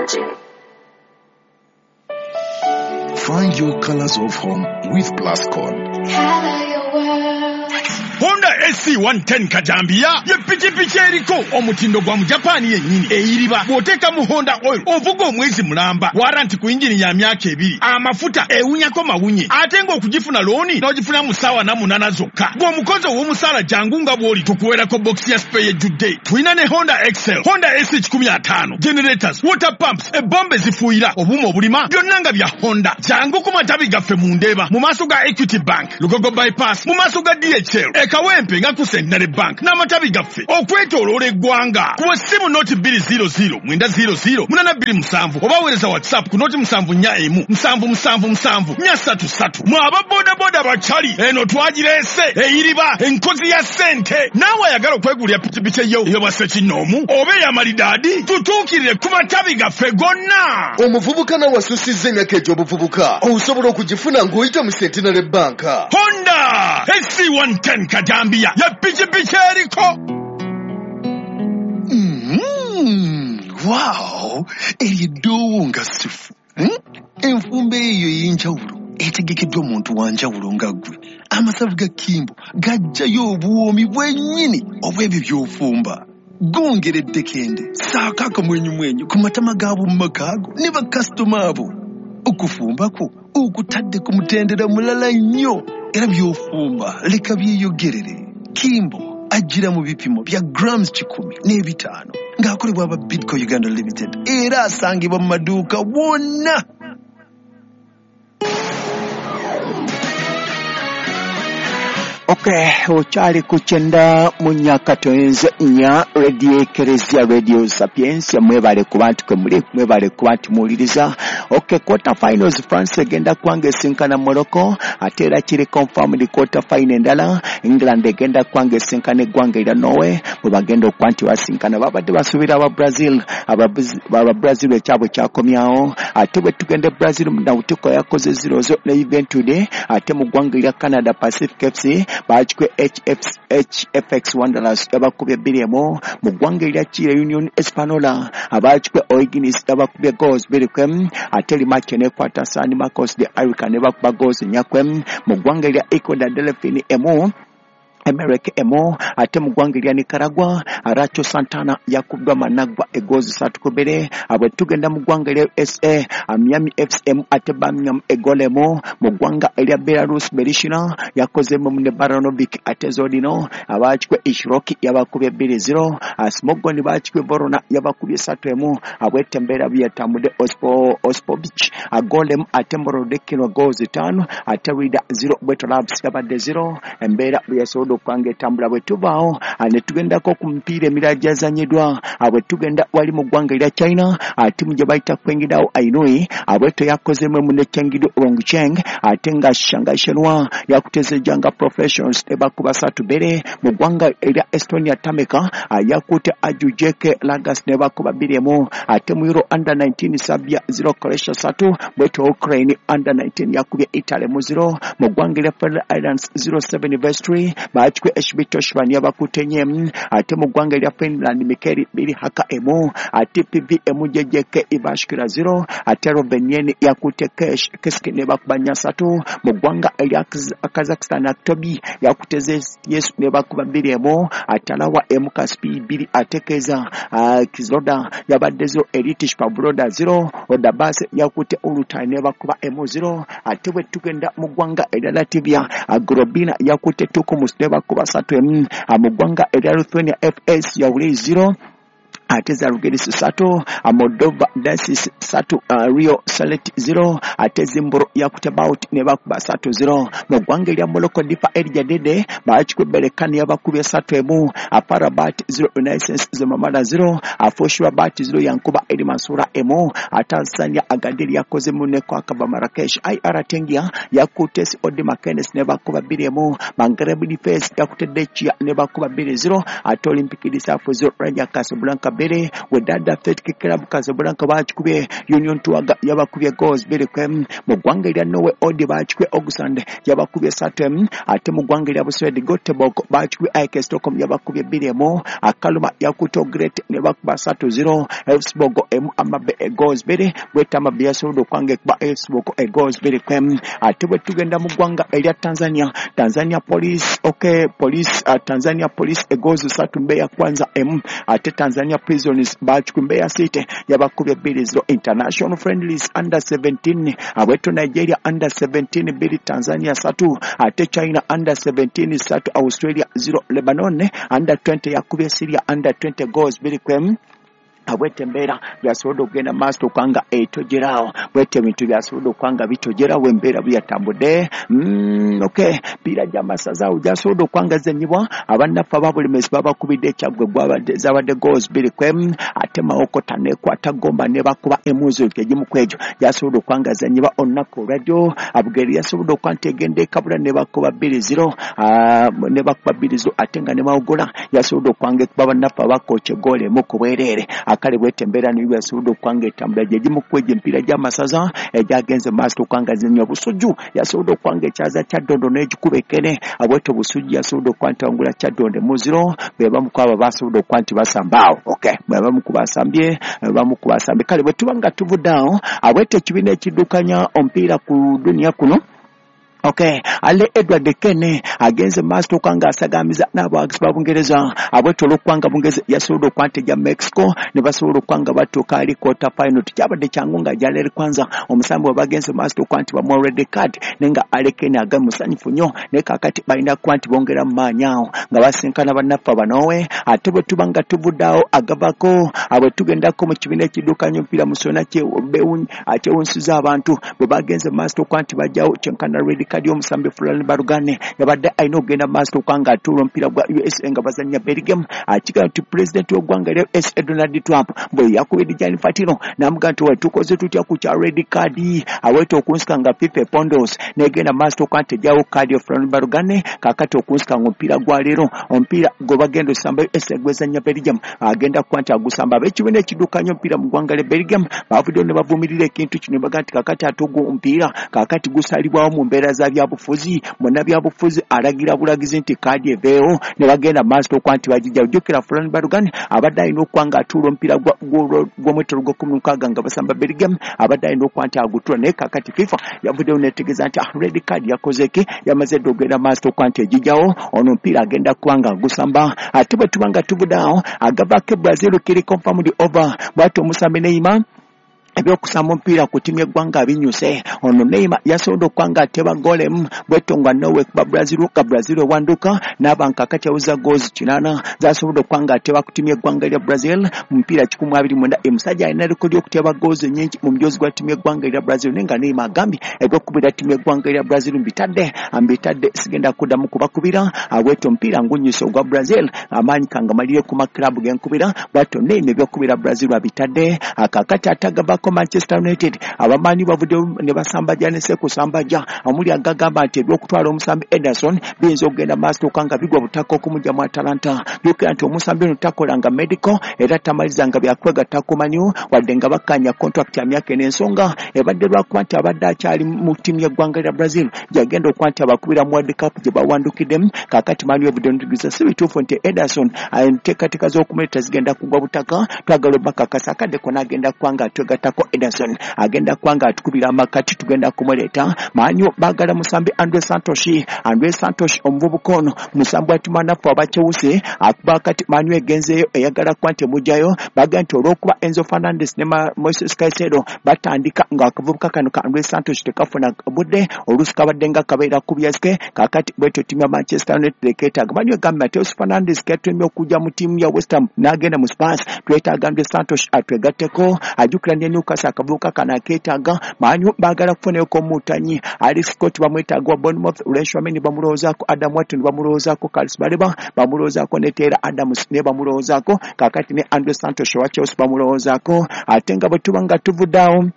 Bulungi. Find your colors of home with Plascon. Color your world. Honda SC110 Kajambiya ye pikipiki eriko omutindo gwa Mujapani yennyini eyiriba. Bw'oteeka mu Honda oil ovuga omwezi mulamba, waranti ku yingini ya myaka 2, amafuta ewunyako mawunye, ate ng'okugifuna looni n'ogifuna mu ssaawa 8 zokka. Bw'omukozi ow'omusaala jangu nga bw'oli tukuweerako bokisi ya spare ejjudde. Tulina ne Honda Excel, Honda SC105, generators, water pumps, ebombe zifuuyira, obuuma obulima, byonna nga bya Honda. Jangu ku matabi gaffe mu Ndeeba, mu maaso ga Equity Bank, Lugogo Bypass, mu maaso ga DHL, e Kawempe nga ku Centenary Bank n'amatabi gaffe okwetooloola eggwanga. Kuba essimu noti 200 900 827 oba weereza WhatsApp ku noti 741 777 433. Mwe aba bodaboda bakyali eno twagireese eyiriba enkozi ya ssente. Naawe ayagala okwegulira pikipiki eyo ey'obwa ssekinnoomu oba ey'amalidaadi, tutuukirire ku matabi gaffe gonna. Omuvubuka nawe asusizza emyaka egy'obuvubuka osobola okugifuna ng'oyita mu Centenary Bank. Honda SC110 Kajambiya ya pikipiki eriko. Wow, eryo eddoowo nga sifu. Enfumba eyo ey'enjawulo etegekeddwa omuntu wa njawulo nga ggwe. Amasavu ga Kimbo gajjayo obuwoomi bwennyini obw'ebyo by'ofumba. Gongera eddekende, ssaako akamwenyumwenyu ku matama gaabo mu maka ago ne bakasitoma abo. Okufumba kwo okutadde ku mutendera mulala nnyo, era by'ofumba leka byeyogerere. Kimbo ajjira mu bipimo bya grams 105 ng'akolebwa aba Bidco Uganda Limited, era asangibwa mu maduuka wonna. Okay, okyali ku 94.4 Radio Ekeresia, Radio Sapientia. Mwebale kuba nti kwe muli, mwebale kuba nti muwuliriza. Okay, quarter finals France egenda kubanga esinkana Morocco, ate era kiri confirmed quarter final endala England egenda kubanga esinkana eggwanga erya Norway, bwe bagenda okuba nti basinkana. Babadde basuubira aba Brazil, aba Brazil ekyabwe kyakomyawo. Ate bwe tugenda e Brazil, Nautiko yakoze 0-0 ne Juventude. Ate mu ggwanga erya Canada, Pacific FC bakikwe HFX Wanderers yabakubye 2-1. Mu ggwanga erya Chile, Union Espanola abakikwe O'Higgins yabakubye goals 2-1. Ate Limache nekwata San Marcos de Arica ne bakuba goals 4. Mu ggwanga erya Ecuador, Delphine emu Emerek emo. Ate mu ggwanga erya Nicaragua, Aracho Santana yakubbwa Managua egozi 3-2. Abwe tugenda mu ggwanga erya USA, Miami FC ate Birmingham egolemo. Mu ggwanga erya Belarus, Belishina yakozemu ne Baranovic ate Zodino. Abakikwe Ishiroki yabakubye 2-0. Smogoni bakikwe Vorona yabakubye 3-1. Abwete embeera byatambudde Ospovich agolemu ate Morodekino goals 5 ate Rida 0 Bweto Labs yabadde 0. Embeera byasobodde okubanga etambula. Bwe tuvaawo ne tugendako ku mipiira emirala gyazanyiddwa. Bwe tugenda wali mu ggwanga erya China, ttiimu gye bayita Qingdao Ainui abweto yakozemu ne Chengdu Rongcheng, ate nga Shanghai Shenhua yakutezejja nga Professionals ne bakuba 3-2. Mu ggwanga erya Estonia, Tameka yakutte Ajujeke Lagas ne bakuba 2-1. Ate mu Euro under 19, Serbia 0 Croatia 3. Bweto Ukraine under 19 yakubye Italy mu 0. Mu ggwanga erya Faroe Islands 07 Vestry bakikwe HB Toshvan yabakutte nye. Ate mu ggwanga erya Finland, Mikeri 2 Haka emu. Ate PV emu JJK Ivashkira 0. Ate Rovaniemi yakutte Keski ne bakuba 4-3. Mu ggwanga erya Kazakhstan, Aktobi yakutte Yesu ne bakuba 2-1. Atalawa emu Kaspi 2 ate Keza Kizoda yabadde 0. Elitish Pavloda 0. Odabase yakutte Ulutai ne bakuba 1-0. Ate bwe tugenda mu ggwanga erya Latvia, Grobina yakutte Tukumus ne bakuba 3-1. Mu ggwanga erya Lithuania, FS yawule 0 ate Zalgiris 3, Moldova Dacis 3, Rio Salet 0. Ate Zimbro yakutte Bout ne bakuba 3-0. Mu ggwanga erya Morocco, Difa El Jadede bakikwe Berkane yabakubye 3-1. Farabat 0 Renaissance Zemamara 0. Foshrabat 0 Yankuba El Mansura 1. Tanzania, Agadir yakozemu ne Kwakaba Marrakesh. IR Tengia yakutte Odi Makenes ne bakuba 2-1. Maghreb Defense yakutte Dechia ne bakuba 2-0. Ate Olympic Disafu 0 Raja Casablanca 2. bbiri. Wydad Athletic Club Casablanca bakikubye Union Touarga yabakubye goals 2-1. Mu ggwanga erya Norway Odd bakikubye Ogsand yabakubye 3-1. Ate mu ggwanga erya Buswedi Göteborg bakikubye AIK Stockholm yabakubye 2-1. Akaluma yakutte Great ne bakuba 3-0. Elfsborg emu Amabe goals 2 bweta Amabe yasobodde okwanga ekuba Elfsborg goals 2-1. Ate bwe tugenda mu ggwanga erya Tanzania, Tanzania Police okay Police Tanzania Police goals 3 Mbeya Kwanza emu. Ate Tanzania Prisons bakikubye Mbeya City yabakubye 2-0. International friendlies under 17 abweto Nigeria under 17 2 Tanzania 3. Ate China under 17 3 Australia 0. Lebanon under 20 yakubye Syria under 20 goals 2-1. Abwete embeera byasobodde okugenda maaso okwanga etogeraawo bwete ebintu byasobodde okwanga bitogerawo embeera bweyatambudde. Okay piira gy'amasaza awo gyasobodde okwanga zenyibwa abannaffe ababulemezi babakubidde Ekyaggwe zabadde goals 2-1. Ate Mawokota nekwata Gomba ne bakuba emuzi egimu ku egyo gyasobodde okwanga zenyibwa olunaku olwajjo. Abugeri yasobodde okuba nti egenda ekabula ne bakuba 2-0 ne bakuba 2-0. Ate nga ne Mawogola yasobodde okwanga ekuba bannaffe abakooca eggoolo emu ku bwereere. Akale bwete embeera niyo yasobodde okwanga etambula gye gimu ku egyo emipiira gy'amasaza egyagenze maaso okwanga zenywa. Busujju yasobodde okwanga ekyaza Kyaddondo n'egikuba ekene abwete Busujju yasobodde okuba nti awangula Kyaddondo 0. Be bamu ku abo basobodde okuba nti basamba awo. Okay bwe bamu ku basambye bamu ku basambye. Kale bwe tuba nga tuvudde awo abwete ekibiina ekiddukanya omupiira ku duniya kuno. Okay, ale Edward Kene agenze maaso okwanga asagamiza n'abawagizi ba Bungereza abwete olw'okwanga Bungereza yasobodde okuba nti ejja Mexico ne basobola okwanga batuuka ali quarter final. Tekyabadde kyangu nga gyaleeri kwanza omusambi we bagenze maaso okuba nti bamuwa red card naye nga Ale Kene aga musanyufu nnyo naye kaakati balina kuba nti bongera mu maanyi awo nga basinkana bannaffe abanoowe. Ate bwe tuba nga tuvudde awo agavako abwe tugendako mu kibiina ekiddukanya omupiira musona kyewunsiza abantu bwe bagenze maaso okuba nti bajjawo kyenkana red card omusambi Fulani Barugane yabadde alina okugenda maaso okwanga atuula omupiira gwa USA nga bazannya Belgium. Akigamba nti pulezidenti w'eggwanga erya USA Donald Trump bwe yakubidde Gianni Infantino n'amugamba nti we tukoze tutya ku kya red card aweta okunsika nga FIFA epondos n'egenda maaso okuba nti ejjawo kaadi ya Fulani Barugane. Kaakati okunsika nga omupiira gwa leero omupiira gwe bagenda osamba USA gwezannya Belgium agenda kuba nti agusamba. Ab'ekibiina ekiddukanya omupiira mu ggwanga lya Belgium bavuddeyo ne bavumirira ekintu kino ne bagamba nti kaakati ate ogwo omupiira kaakati gusalibwawo mu mbeera za byabufuzi munnabyabufuzi alagira bulagizi nti kaadi eveewo ne bagenda maaso okuba nti bagijja. Ojjukira Fulani Barugane abadde alina okuba nga atuula omupiira gw'omwetolo gwa 16 nga basamba Belgium abadde alina okuba nti agutula naye kaakati FIFA yavuddeyo n'etegeeza nti red card yakoze ki yamaze dda okugenda maaso okuba nti egijjawo ono omupiira agenda kuba nga agusamba. Ate bwe tuba nga tuvudde awo agavaako e Brazil kiri confirmed over bw'atyo omusambi Neymar ebyokusamba omupiira ku ttiimu y'eggwanga abinyuse. Ono Neymar yasobodde okuba nga ateba ggoolo emu bwetyo nga Norway kuba Brazil nga Brazil ewanduka n'aba nkakati aweza goals 8 zasobodde okuba nga ateba ku ttiimu y'eggwanga erya Brazil mu mupiira 129. Omusajja alina rekodi y'okuteba goals nnyingi mu mujoozi gwa ttiimu y'eggwanga erya Brazil naye nga Neymar agambye ebyokukubira ttiimu y'eggwanga erya Brazil mbitadde sigenda kuddamu kubakubira abwetyo omupiira ngunyuse ogwa Brazil amaanyi kangamalire ku makirabu genkubira bwatyo Neymar ebyokukubira Brazil abitadde. Akakati atagavako Manchester United abamanyi bavudde ne basambajja ne sekusambajja omuli agagamba nti ebyokutwala omusambi Ederson biyinza okugenda maaso okanga bigwa butaka okumugya mu Atalanta. Jjukira nti omusambi ono takolanga medical era tamalizanga byakwegatta ku Man U wadde nga bakkaanya contract ya myaka ena. Ensonga ebadde lwakuba nti abadde akyali mu ttiimu y'eggwanga lya Brazil gyagenda okuba nti abakubira mu World Cup gye bawandukiddemu. Kaakati Man U evudde n'etegeeza si bituufu nti Ederson enteekateeka z'okumuleeta zigenda kugwa butaka, twagala obbakakasa akadde konna agenda kuba nga atwegattako Ederson agenda kuba nga atukubira amakati tugenda kumuleeta. Man U baagala musambi Andre Santos omuvubuka ono musambi wa ttiimu naffe aba Chelsea akuba kati Man U egenzeeyo eyagala kuba nti emugyayo. Bagamba nti olw'okuba Enzo Fernandez ne Moises Caicedo batandika ng'akavubuka kano ka Andre Santos tekafuna budde oluusi kabadde nga kabeera ku byasike. Kaakati bwetyo ttiimu ya Manchester United keetaaga. Man U egambye Mateus Fernandes ketumye okujja mu ttiimu ya West Ham n'agenda mu Spurs, twetaaga Andre Santos atwegatteko. Ajjukira ne Newcastle akavubuka kano akeetaaga. Man U baagala kufunayoko omuutanyi Alex Scott bamwetaaga wa Bournemouth, Rashomeni bamulowoozaako, Adam Wharton bamulowoozaako, Carlos Baleba bamulowoozaako ne Taylor Adams ne bamulowoozaako. Kaakati ne Andre Santos owa Chelsea bamulowoozaako. Ate nga bwe tuba nga tuvudde awo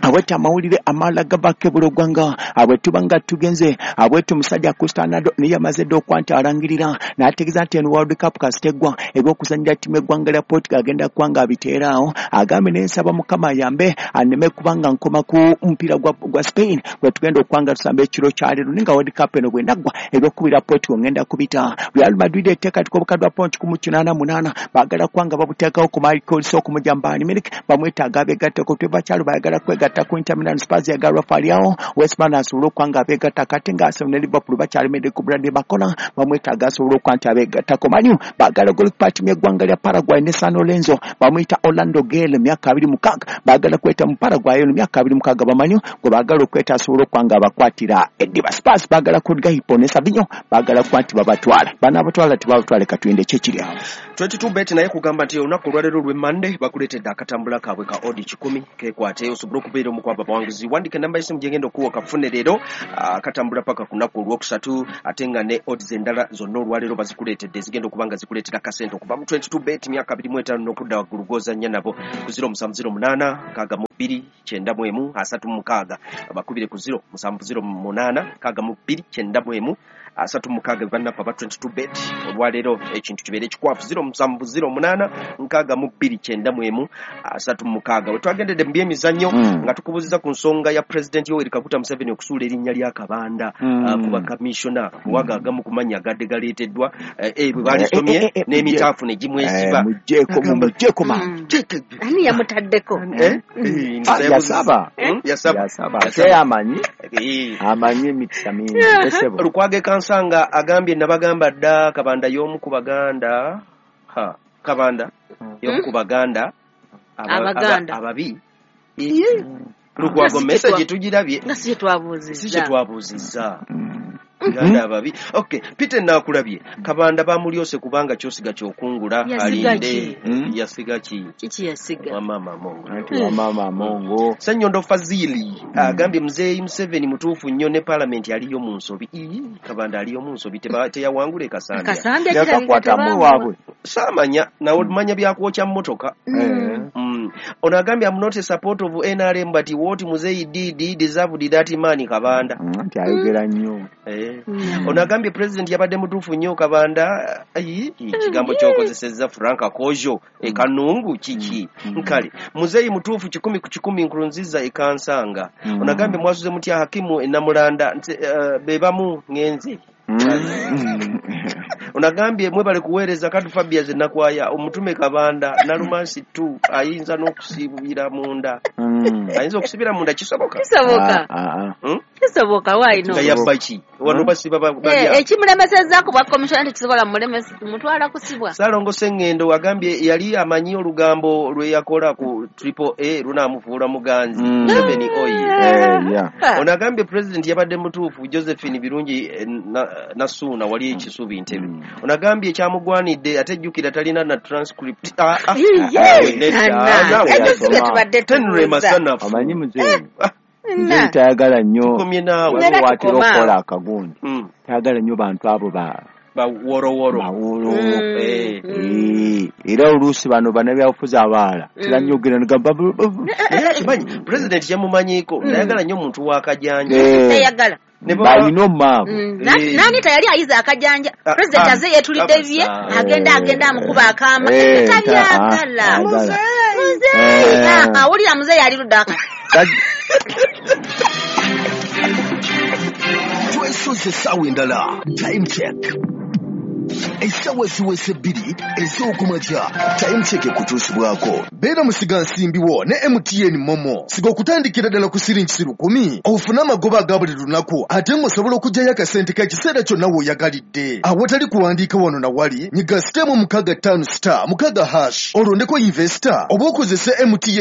Abwete amawulire amalala gavako ebula ogwanga abwe tuba nga tugenze abwete omusajja Cristiano Ronaldo naye yamaze dda okuba nti alangirira n'ategeeza nti eno World Cup kasita eggwa eby'okuzannyira ttiimu y'eggwanga lya Portugal agenda kuba nga abiteeraawo. Agambye naye nsaba Mukama ayambe anneme kuba nga nkoma ku mupiira gwa Spain gwe tugenda okuba nga tusamba ekiro kya leero, naye nga World Cup eno bw'enaggwa eby'okukubira Portugal ngenda kubita. Real Madrid eteekateeka obukadde bwa pawundi 188 baagala kuba nga babuteekawo ku Michael Olise okumugya mu Bayern Munich, bamwetaaga abeegatteko. Trevor Chalobah ayagala kwegatta ku Inter Milan, Spurs yagala Rafael Leao, West Ham asobole okuba nga abeegattako, ate nga Arsenal ne Liverpool bakyalemedde ku Bradley Barcola, bamwetaaga asobole okuba nti abeegattako. Man U baagala golikipa ttiimu y'eggwanga lya Paraguay ne San Lorenzo, bamuyita Orlando Gale, myaka 26, baagala kweta mu Paraguay eno myaka 26 bamanyi gwe baagala okweta asobole okuba nga abakwatira eddiba. Spurs baagala Kudgaipo ne Savinho, baagala kuba nti babatwala, banaabatwala tebabatwale, katulinde ki ekiri awo. 22 bet naye kugamba nti olunaku olwaleero olw'e Monday bakuleetedde akatambula kaabwe ka odi 100 kekwate osobole okubeera omu kwabo abawanguzi. Wandika enamba y'essimu gyengenda okuwa kafune leero akatambula paka ku lunaku olwokusatu, ate nga ne odds endala zonna olwaleero bazikuleetedde ezigenda okuba nga zikuleetera akasente okuva mu 22 bet myaka 25 n'okudda waggulu gw'ozannya nabo ku 0708 62 91 36, bakubire ku 0708 62 91 36 bannaffe aba 22 bet olwaleero ekintu kibeere ekikwafu 0708 62 91 36. We twagendedde mu byemizannyo nga tukubuuziza ku nsonga ya Pulezidenti Yoweri Kaguta Museveni okusuula erinnya lya Kabanda ku bakamishona kuwaga agamu ku mannya agadde galeeteddwa bwe baalisomye n'emitaafu ne gimwesiba. Muggyeko maama. Ani yamutaddeko? Yasaba. Yasaba. Ate amanyi. Amanyi emikisa mingi. Lukwago Kansanga agambye nabagamba dda Kabanda y'omu ku Baganda. Kabanda y'omu ku Baganda ababi. Lukwago message tugirabye. Nga si kye twabuuzizza. Ganda ababi. Okay, Peter nakulabye. Kabanda bamulyose kubanga kyosiga kyokungula alinde. Yasiga ki? Kiki yasiga? Wa mama Mongo. Wa mama Mongo. Ssenyondo Fazili agambye Muzeeyi Museveni mutuufu nnyo ne parliament aliyo mu nsobi. Kabanda aliyo mu nsobi teyawangule Kasambya. Kasambya yakakwatamu waabwe. Saamanya nawe manya byakwokya mmotoka. Ono agambye I'm not a support of NRM but what Muzeeyi did deserved that man Kabanda. Nti ayogera nnyo. Ono agambye President yabadde mutuufu nnyo Kabanda. Ekigambo ky'okozesezza Frank Akojo ekanungu kiki? Nkale Muzeeyi mutuufu 100 ku 100 Nkurunziza ekansanga. Ono agambye mwasuze mutya Hakimu Enamulanda be bamu ngenze. Onagambye mwebale kuweereza Kadu Fabias Nakwaya omutume Kabanda Nalumansi 2 ayinza n'okusibira munda. Ayinza okusibira munda kisoboka? Kisoboka. Kisoboka why no? Nga yabba ki? Wano basiba balya. Ekimulemesezza ku bwa commissioner tekisobola mutwala kusibwa. Ssalongo Ssengendo agambye yali amanyi olugambo lwe yakola ku Triple A lunaamufuula muganzi. Museveni oye. Ono agambye President yabadde mutuufu Josephine Birungi Nasuuna wali ekisubi Ntebe. Ono agambye kyamugwanidde ate jjukira talina na transcript. Omanyi muzeeyi. Muzeeyi tayagala nnyo. Tukomye naawe. Watera okukola akagundi. Tayagala nnyo bantu abo baworoworo. Era oluusi bano bannabyabufuzi abalala teranyogera nogamba naye akimanyi President yamumanyiiko tayagala nnyo muntu wa kajanja. Tayagala. Balina omumaavu. Nani tayali ayiza akajanja. President aze yeetulidde bye agenda amukuba akaama. Tabyagala. Muzeeyi. Awulira muzeeyi ali ludda aka. Twesoze essaawa endala. Time check. Essaawa ziweze 2 ez'okumakya. Time check ekutuusibwako. Beera musigansimbi wo ne MTN Momo. Siga okutandikira ddala ku siringi 1,000 ofune amagoba aga buli lunaku ate ng'osobola okuggyayo akasente k'ekiseera kyonna w'oyagalidde. Awatali kuwandiika wano na wali, nyiga star 656*6# olondeko investor oba okozese MTN